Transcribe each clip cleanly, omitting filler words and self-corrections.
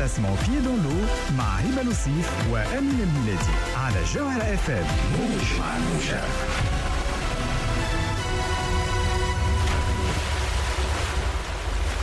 تسمعوا Pieds dans l'eau مع هبة لوصيف وأمين الميلادي على جوهرة اف ام. موج مع موجة.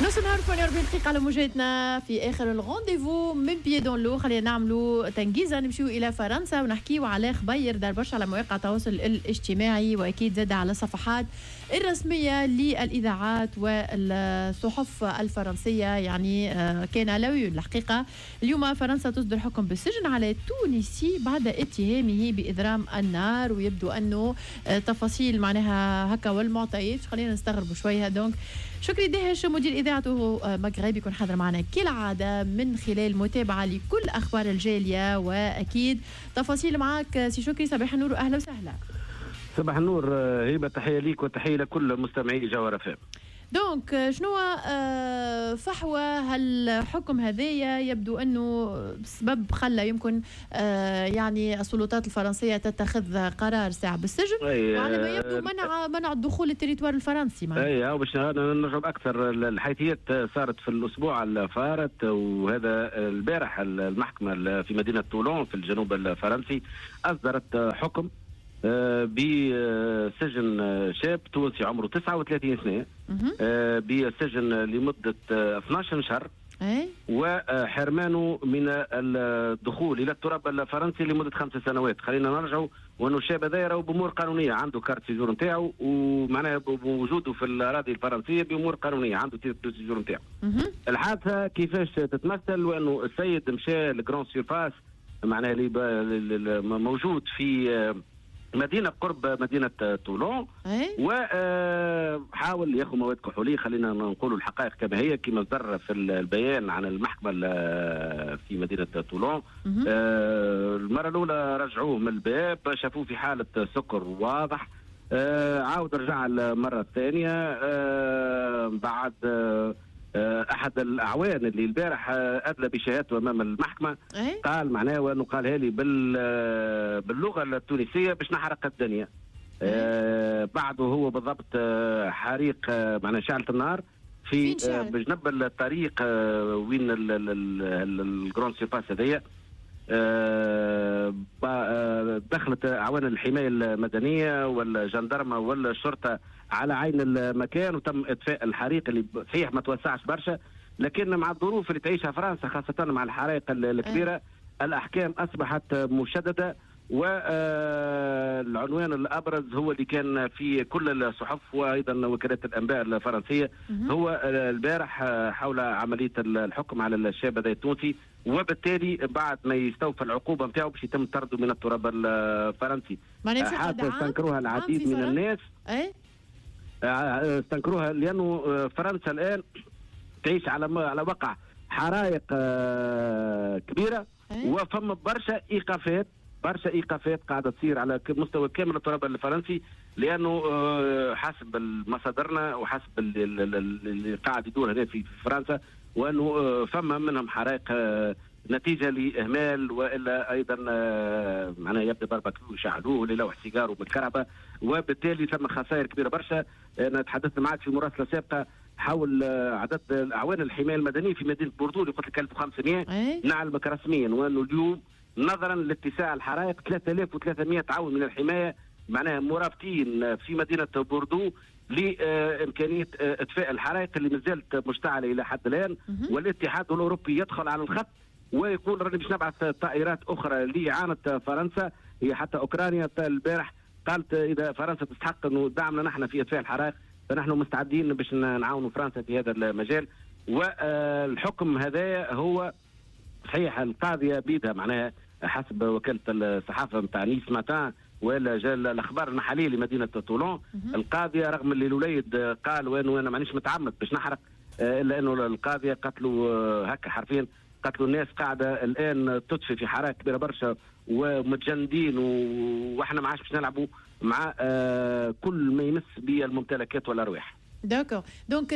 نص نهار 48 دقيقة على موجاتنا في آخر ال rendez-vous من Pieds dans l'eau. خلينا نعملوا تنجيزة، نمشيو إلى فرنسا ونحكيو على خبير دار برشا على مواقع التواصل الاجتماعي وأكيد زاد على الصفحات الرسمية للإذاعات والصحف الفرنسية. يعني كان à la une الحقيقة. اليوم فرنسا تصدر حكم بالسجن على تونسي بعد اتهامه بإضرام النار، ويبدو أنه تفاصيل معناها هكا والمعطيات خلينا نستغربوا شوية. donc شكري دهش مدير إذاعته مغرب يكون حاضر معنا كالعادة من خلال متابعة لكل أخبار الجالية وأكيد تفاصيل معك سي شكري. صباح النور وأهلا وسهلا. صباح النور هبة، تحية ليك وتحية لكل مستمعي جوهرة فام. donc شنو فحوى هالحكم هذايا؟ يبدو انه بسبب خلى يمكن يعني السلطات الفرنسية تتخذ قرار ساعة بالسجن، وعلى ما يبدو منع الدخول لل territoire الفرنسي. اي باش نرجع اكثر، الحيثيات صارت في الاسبوع الفارط، وهذا البارح المحكمة في مدينة تولون في الجنوب الفرنسي اصدرت حكم بسجن شاب تونسي عمره 39 سنة بسجن لمدة 12 شهر وحرمانه من الدخول إلى التراب الفرنسي لمدة 5 سنوات. خلينا نرجعوا وأنه الشاب هذا راهو بأمور قانونية، عنده carte séjour نتاعو ومعناها بوجوده في الأراضي الفرنسية بأمور قانونية، عنده titre séjour نتاعو. الحادثة كيفاش تتمثل؟ وأنه السيد مشى ل grande surface معناها اللي موجود في مدينة قرب مدينة تولون، وحاول ياخذ مواد كحولية. خلينا نقولوا الحقائق كما هي كما صدر في البيان عن المحكمة في مدينة تولون. المرة الأولى رجعوه من الباب، شافوه في حالة سكر واضح. عاود رجع المرة الثانية بعد احد الاعوان اللي البارح ادلى بشهادته امام المحكمة قال معناه وانه قالها لي باللغة التونسية باش نحرق الدنيا. بعده هو بالضبط حريق معناه شعلة النار في بجنب الطريق وين ال grande surface هذيا. دخلت اعوان الحماية المدنية والجندرمه والشرطة على عين المكان وتم اطفاء الحريق اللي صحيح ما توسعش برشا، لكن مع الظروف اللي تعيشها فرنسا خاصة مع الحرائق الكبيرة الاحكام اصبحت مشددة. والعنوان الابرز هو اللي كان في كل الصحف وايضا وكالات الانباء الفرنسية هو البارح حول عملية الحكم على الشاب هذا التونسي، وبالتالي بعد ما يستوفى العقوبة نتاعو باش يتم طرده من التراب الفرنسي. حتى استنكروها العديد من الناس. استنكروها لانه فرنسا الان تعيش على وقع حرائق كبيرة، وفما برشا ايقافات، برشا ايقافات قاعدة تصير على مستوى كامل التراب الفرنسي، لانه حسب مصادرنا وحسب اللي قاعد يدور هنا في فرنسا وانه فما منهم حرائق نتيجة لاهمال والا ايضا معناها يبدا بارباكيو يشعلوه للوح سيجار وبالكهرباء، وبالتالي ثم خسائر كبيرة برشا. انا تحدثت معك في مراسله سابقه حول عدد اعوان الحماية المدنية في مدينة بوردو اللي قلت لك 1500. نعلمك رسميا وانه اليوم نظرا لاتساع الحرائق 3300 عون من الحماية معناها مرابطين في مدينة بوردو لامكانيه اطفاء الحرائق اللي مازالت مشتعلة الى حد الان. والاتحاد الاوروبي يدخل على الخط ويقول راني باش نبعث طائرات اخرى لاعانه فرنسا. هي حتى اوكرانيا البارح قالت اذا فرنسا تستحق انه دعمنا نحن في اطفاء الحرائق فنحن مستعدين باش نعاونوا فرنسا في هذا المجال. والحكم هذا هو صحيح القاضية بيدها معناها حسب وكالة الصحافة نتاع نيس ماتان ولا جا الاخبار المحلية لمدينة تولون، القاضية رغم اللي الوليد قال وانه انا مانيش متعمد باش نحرق، الا انه القاضية قتلوا هكا حرفيا، قتلوا الناس قاعدة الان تطفي في حرائق كبيرة برشا ومتجندين، واحنا ما عادش باش نلعبوا مع كل ما يمس بالممتلكات والارواح. d'accord. donc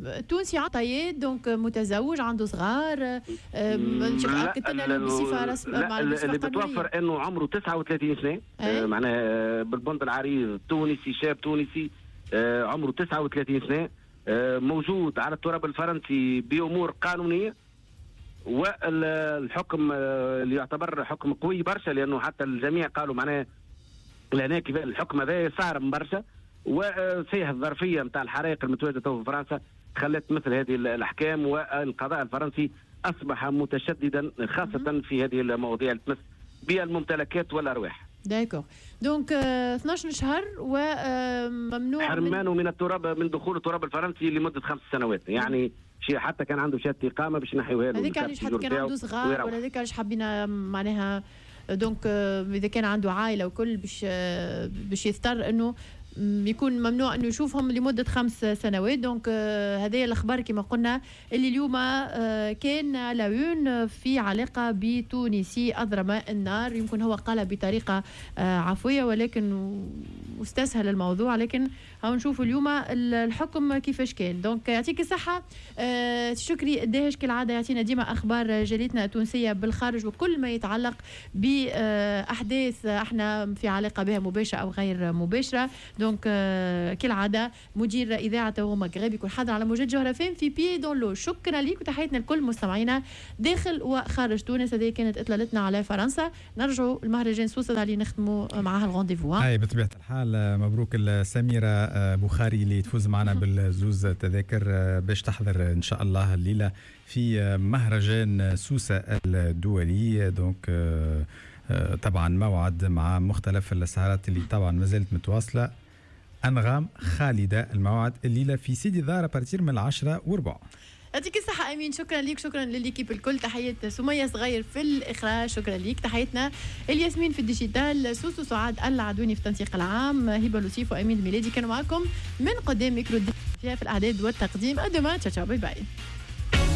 التونسي عطيات، donc متزوج عنده صغار، اكدت لنا بصفة رسمية اللي بتوفر انه عمره 39 سنة، معناها بالبند العريض تونسي، شاب تونسي عمره 39 سنة، موجود على التراب الفرنسي بامور قانونية. والحكم اللي يعتبر حكم قوي برشا، لانه حتى الجميع قالوا معناه لهنا كيف الحكم هذا صارم برشا، وصحيح الظرفية نتاع الحرائق المتواجدة في فرنسا خلت مثل هذه الاحكام، والقضاء الفرنسي اصبح متشددا خاصة في هذه المواضيع اللي تمس بالممتلكات والارواح. d'accord، donc 12 شهر وممنوع حرمانه من التراب، من دخول التراب الفرنسي لمدة 5 سنوات، يعني شيء حتى كان عنده شهادة اقامه باش ينحيوها له. هذيك علاش حتى كان عنده صغار ولا هذيك علاش حبينا معناها، donc اذا كان عنده عائلة وكل باش يضطر انه يكون ممنوع انه يشوفهم لمدة 5 سنوات. donc هذه الاخبار كما قلنا اللي اليوم كان à la une في علاقة بتونسي اضرم النار. يمكن هو قال بطريقة عفوية ولكن واستسهل الموضوع، لكن هاو نشوفوا اليوم الحكم كيفاش كان. donc يعطيك الصحة شكري الداهش، كالعادة يعطينا ديما اخبار جاليتنا التونسية بالخارج وكل ما يتعلق باحداث احنا في علاقة بها مباشرة او غير مباشره. donc كالعادة مدير اذاعة مغرب يكون حاضر على موجات جوهرة FM في pieds dans l'eau. شكرا لك وتحياتنا لكل مستمعينا داخل وخارج تونس. هذه كانت اطلالتنا على فرنسا. نرجعوا المهرجان سوسة اللي نختموا معها ال rendez-vous. اي بطبيعة الحال، مبروك لسميره بخاري اللي تفوز معنا بالزوز تذاكر باش تحضر ان شاء الله الليلة في مهرجان سوسة الدولي. donc طبعا موعد مع مختلف السهرات اللي طبعا ما زالت متواصله، انغام خالده، الموعد الليلة في سيدي ظاهر à partir من 10:15. يعطيك الصحة أمين، شكرا لك، شكرا لل équipe الكل. تحية سمية صغير في الإخراج، شكرا لك. تحيتنا الياسمين في ال digital، سوسو سعاد العدوني في التنسيق العام، هبة لوسيف وأمين الميلادي كانوا معكم من قدام ميكرو في الإعداد والتقديم. à demain، ciao، bye bye.